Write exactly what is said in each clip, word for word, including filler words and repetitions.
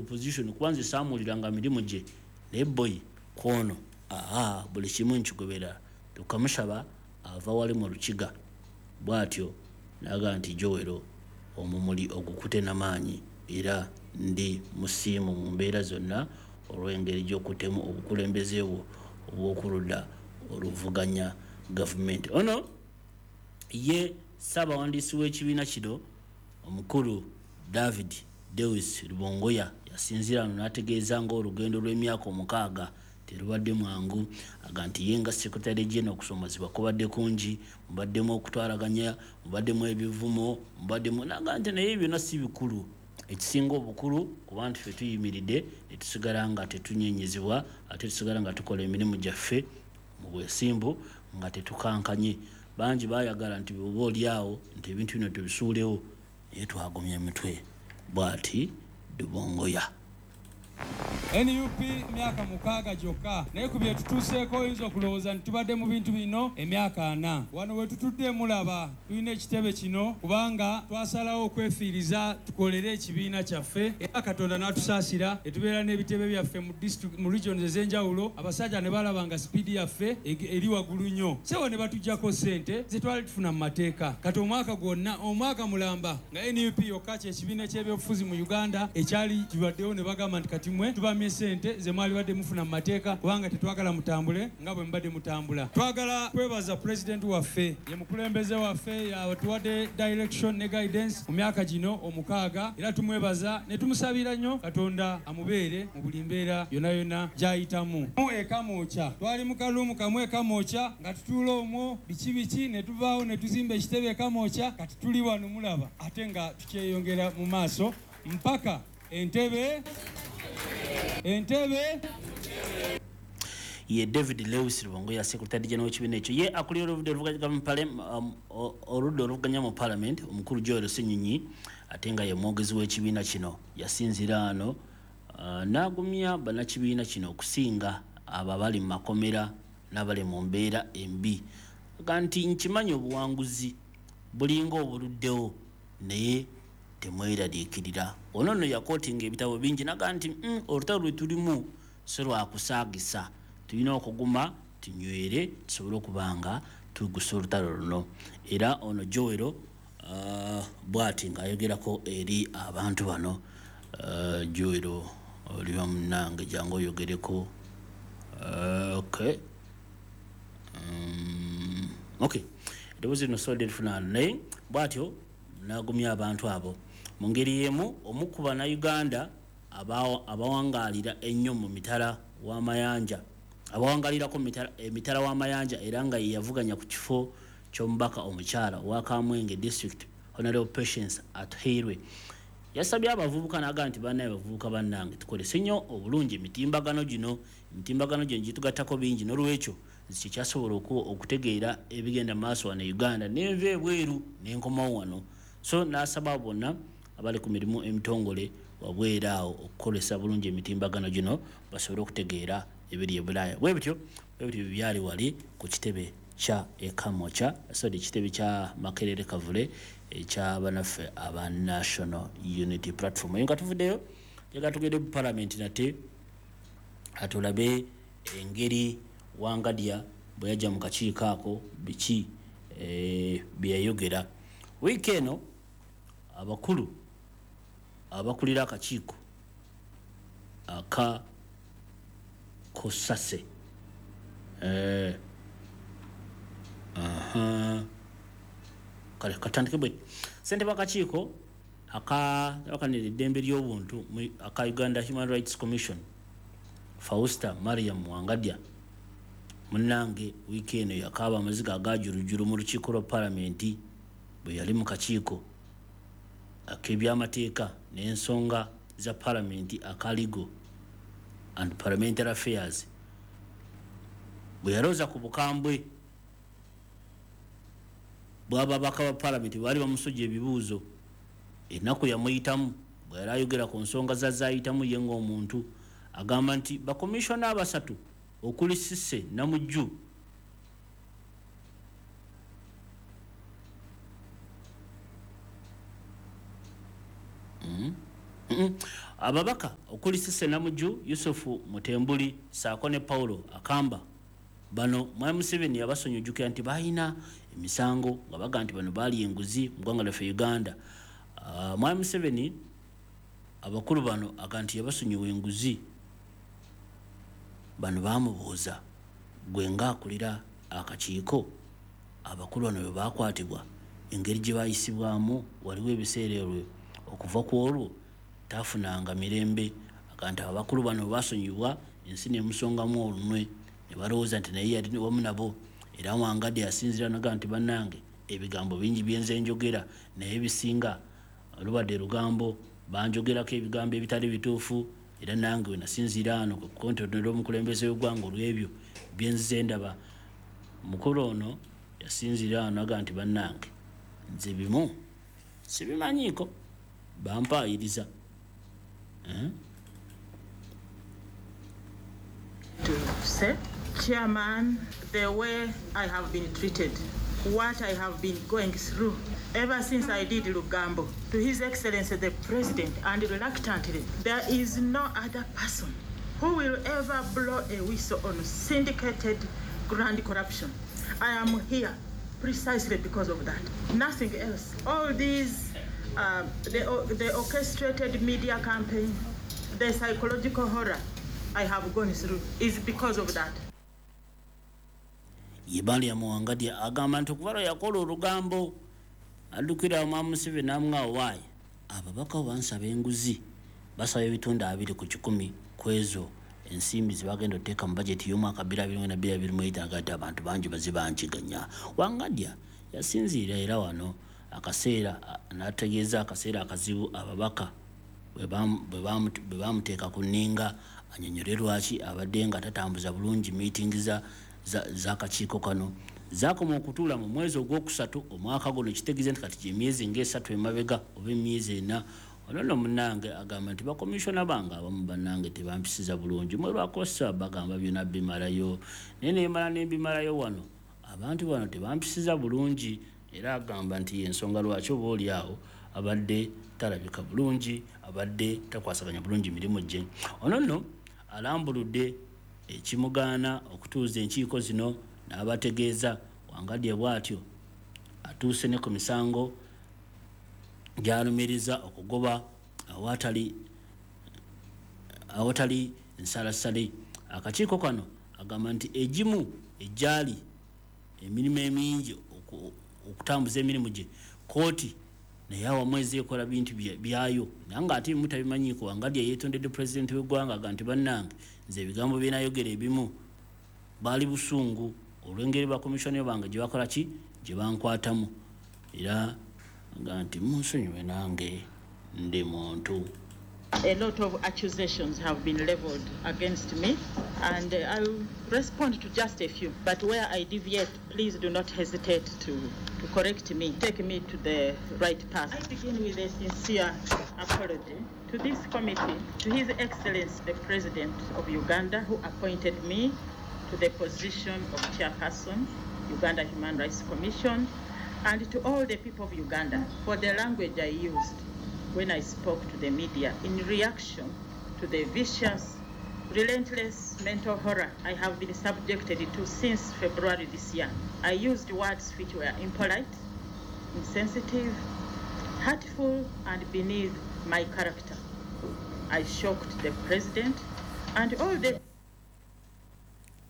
opposition, kuba nze saamuwuliranga mirimu gye, naye boyi kwono aa buli kimu nkigobera. Tukamushaba ava wali mu Lukiga bw'atyo n'agamba nti Joel omumuli ogukute n'amaanyi, era ndi musiimu mu mbeera zonna olw'engeri gy'okutemu obukulembeze bwo obw'okuludda oluvuganya gavumenti. Ono ye ssaabawandiisi w'ekibiina kino omukulu David Dewis Rubongoya yasinziira wano n'ategeeza ng'olugendo lw'emyaka omukaaga terubadde mwangu, aga nti ye nga Secretary General okusomozebwa kubadde kungi, mubaddemu okutwalaganya, mubaddemu ebivumo, mubaddemu n'aga nti naye byonna si bikulu. Ekisinga obukulu kuba nti ffe tuyimiridde ne tusigala nga tetunyenyezebwa, ate tusigala nga tukola emirimu gyaffe mu bwesimbu nga tetukankanye. Bangi baayagala nti bw'oba oli awo nti ebintu bino tubisuulewo, naye twagumya emitwe. Bw'ati Rubongoya. N U P emyaka mukaaga gyokka, naye ku bye tutuuseeko oyinza okulowooza nti tubadde mu bintu bino emyaka ana. Wano we tutudde mulaba tulina ekitebe kino kubanga twasalawo okwefiiriza tukolere ekibiina kyaffe, era Katonda n'atusaasira ne tubeera n'ebitebe byaffe mu district, mu regions ez'enjawulo. Abasajja ne balaba nga sipiidi yaffe eri waggulu nnyo, sewo ne batuggyako ssente ze twali tufuna mu mateeka. Kati omwaka gwonna, omwaka mulamba nga N U P yokka kye kibiina ky'ebyobufuzi mu Uganda ekyali kibaddewo, ne bagamba nti kati mwe tubamye ssente ze mwali badde mufuna mu mateeka kubanga tetwagala mutambule nga bwe mubadde mutambula. Twagala kwebaza pulezidenti waffe, ye mukulembeze waffe, yatuwadde direction ne guidance mu myaka gino omukaaga, era tumwebaza ne tumusabira nnyo Katonda amubeere mu buli mbeera yonna yonna gy'ayitamu. Mu Ekamwokya twali mu kaluumu kamwe Ekamwokya nga tutuula omwo biki biki, ne tuvaawo ne tuzimba ekitebe Ekamwokya. Kati tuli wano mulaba ate nga tukyeyongera mu maaso mpaka Entebbe, Entebbe. Ye David Lewis Rubongoya Secretary General w'ekibiina ekyo, ye akulira oludda oluvuganya mu Parliament omukulu Joel Ssenyonyi, ate nga ye mwogezi w'ekibiina kino, yasinziira wano uh, n'agumya bannakibiina kino okusinga abo abali mu makomera n'abali mu mbeera embi. Aga nti nkimanyi obuwanguzi bulinga obuluddewo, naye temweraliikirira. Ono nno yakootinga ebitabo bingi n'agamba nti mm, olutalo lwe tulimu si lwakusaagisa, tulina okuguma tunywere tusobole okuba nga tugusa olutalo luno. Era ono Joel uh, bw'ati ng'ayogerako eri abantu bano. uh, Joel oliba munnange, jangu oyogereko. uh, okay. um, okay eddoboozi lino sobola lifuna, naye bw'atyo n'agumya abantu abo. Mu ngeri y'emu omu ku bannayuganda abawangaalira ennyo mu mitala w'amayanja, abawangalirako emitala w'amayanja, era nga ye yavuganya ku kifo ky'omubaka omukyala owa Kamwenge District, Honorable Patience Atuhairwe, yasabye abavubuka n'agamba nti bannaye bavubuka bannange, tukolese nnyo obulungi emitimbagano gino, emitimbagano gino gitugattako bingi, n'olwekyo nze kyekyasobola okutegeera ebigenda mu maaso wano e Uganda, nenva ebweru nenkomawo wano. So n'asaba bonna abali ku mirimu emitongole wabweru awo okukolesa bulungi emitimbagano gino basobole okutegeera ebiri e Bulaaya. Bwe bityo bwe bityo byali wali ku kitebe kya Ekamwokya, sorry, ekitebe kya Makerere Kavule ekya bannaffe aba National Unity Platform. Eyo nga tuvuddeyo, njagala tugende mu Parliament nate atulabe engeri Wangadya bwe yajja mu kakiiko ako, biki eh, bye yayogera. Wiiki eno abakulu abakulira akakiiko aka Kosase eh, aha kale katandike bwe ssentebe w'akakiiko aka abakanira eddembe ly'obuntu aka Uganda Human Rights Commission Fausta Mariam Wangadya munnange wiiki eno yakaaba amaziga agajulujulu mu lukiiko lwa Palamenti bwe yali mu kakiiko ak'ebyamateeka n'ensonga za Palamenti aka Legal and Parliamentary Affairs, bwe yalooza ku bukambwe bw'ababaka ba Palamenti baali bamusojja ebibuuzo. Ennaku yamuyitamu bwe yali ayogera ku nsonga za zaayitamu ye ng'omuntu, agamba nti bakomishona abasatu okuli Cissy Namujju, mm. Ababaka okuli Cissy Namujju, Yusufu Mutembuli saako ne Paulo Akamba, bano Mwami Museveni yabasonyiwa nti balina emisango nga baga nti bano baali enguzi mu ggwanga lyaffe Uganda. Uh, Mwami Museveni abakulu bano aga nti yabasonyiwa enguzi. Bano bamubuuza, gwe ng'akulira akakiiko, abakulu bano bwe bakwatibwa engeri gye bayisibwamu, waliwo ebiseera ebyo okuva ku olwo tafunanga mirembe. Aga nti abakulu bano bwe basonyibwa ensi nemusongamu olunwe ne balowooza nti naye yali wamu nabo. Era Wangadya yasinziira naga nti bannange ebigambo bingi byenze njogera, naye ebisinga lubadde lugambo, banjogerako ebigambo ebitali bituufu, era nange we nasinziira ano ku kukontonera omukulembeze w'eggwanga olw'ebyo byenzize ndaba. Mukulu ono yasinziira ano aga nti bannange nze bimu sibimanyiiko, bampaayiriza. Eh? To say, Chairman, the way I have been treated, what I have been going through ever since I did Lugambo, to His Excellency the President, and reluctantly, there is no other person who will ever blow a whistle on syndicated grand corruption. I am here precisely because of that. Nothing else. All these, uh, the, the orchestrated media campaign, the psychological horror I have gone through is because of that. Ye Mariam Wangadya agamba nti okuva lwe yakola olugambo addukira Mwami Museveni n'amuwa waayi ababaka bansaba enguzi, basaba ebitundu abiri ku kikumi ku ezo ensimbi ze bagenda okuteeka mu bajeti y'omwaka bbiri abiri mu bbiri abiri mu etaano, agamba nti abantu bangi bazze bankiganya. Wangadya yasinziira era wano akaseera n'ategeeza akaseera akazibu ababaka bwe bamuteeka ku nninga annyonnyole lwaki abadde nga tatambuza bulungi miitingi z'akakiiko kano. Zaakoma okutuula mu mwezi ogwokusatu omwaka guno, kitegeeza nti kati gy'emyezi ng'esatu emabega oba emyezi ena. Ono nno munnange agamba nti bakomishona bange abamu bannange tebampisiza bulungi, mwe lwakosa bagamba byonna bimalayo, naye neemala ne mbimalayo wano abantu bano tebampisiza bulungi. Era agamba nti y'ensonga lwaki oba oli awo abadde talabika bulungi, abadde takwasaganya bulungi mirimu gye. Ono nno alambuludde ekimugaana okutuuza enkiiko zino n'abategeeza. Wangadya bw'atyo atuuse ne ku misango gy'alumiriza okugoba awatali awatali nsalasale. Akakiiko kano agamba nti egimu egyali emirimu emingi okutambuza emirimu gye kooti naye awamu ekola bintu byayo, naye ng'ate ebimu tabimanyiiko. Wangadya yeetondedde pulezidenti w'eggwanga aga nti bannange nze ebigambo bye nayogera ebimu baali busungu olw'engeri bakomishona bange gye bakola ki gye bankwatamu, era aga nti munsonyiwe nange ndi muntu. A lot of accusations have been leveled against me, and I will respond to just a few. But where I deviate, please do not hesitate to, to correct me, take me to the right path. I begin with a sincere apology to this committee, to His Excellency the President of Uganda, who appointed me to the position of chairperson, Uganda Human Rights Commission, and to all the people of Uganda for the language I used when I spoke to the media in reaction to the vicious, relentless mental horror I have been subjected to since February this year. I used words which were impolite, insensitive, hurtful, and beneath my character. I shocked the president and all the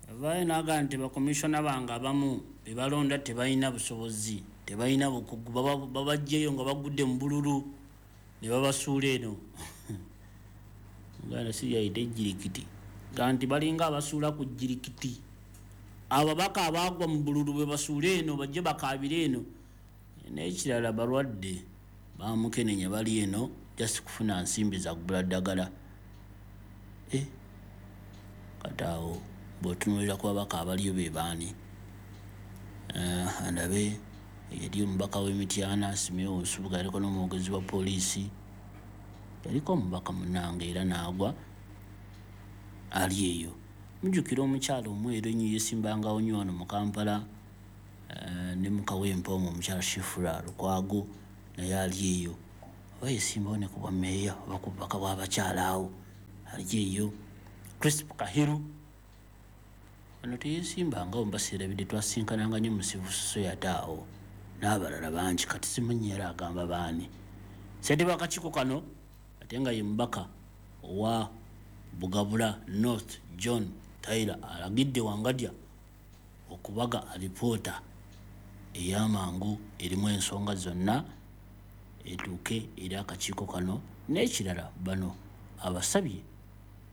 Avaayo n'agamba nti bakomishona bange abamu be balonda tebalina busobozi, tebalina bukugu, babaggyeyo nga bagudde mu bululu ne babasuula eno. Uganda si yayita ejjirikiti, ga nti balinga abasuula ku jjirikiti. Ababaka abaagwa mu bululu bwe basuula eno bajje bakaabire eno. N'ekirala balwadde bamukenenya bali eno just kufuna nsimbi za kugula ddagala. Eh, kati awo bw'otunuulira ku babaka abaliyo be baani? Andabe yali omubaka w'e Mityana Simeo Nsubuga, yaliko n'omwogezi wa poliisi, yaliko omubaka munnange era n'agwa ali eyo. Mujjukira omukyala omweru ennyo yeesimbangawo nnyo wano mu Kampala ne mu Kawempe omwo, omukyala Shifura Lukwago, naye ali eyo. Oba yesimbawo ne ku bwammeeya oba ku bubaka bw'abakyala awo alijeeyo. Crisp Kahiru ono teyeesimbanga mubaseerabidde, twasinkananga nnyo mu civil society awo n'abalala bangi, kati simanyi era agamba baani. Ssentebe w'akakiiko kano ate nga ye mubaka owa Bugabula North John Tyler alagidde Wangadya okubaga alipoota ey'amangu erimu ensonga zonna etuuke eri akakiiko kano. N'ekirala, bano abasabye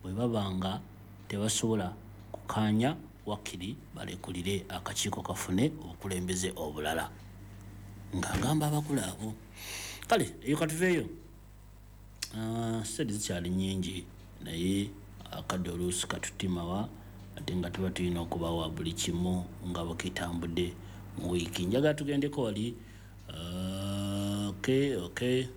bwe baba nga tebasobola kukaanya wakiri balekulire akakiiko kafune obukulembeze obulala, ng'agamba abakulu abo. Kale eyo katuveeyo. Ah, sente zikyali nnyingi, naye akadde oluusi katutimawa, ate nga tuba tulina okubawa buli kimu nga bwekitambudde mu wiiki. Njagala tugendeko wali. Ah, okay okay.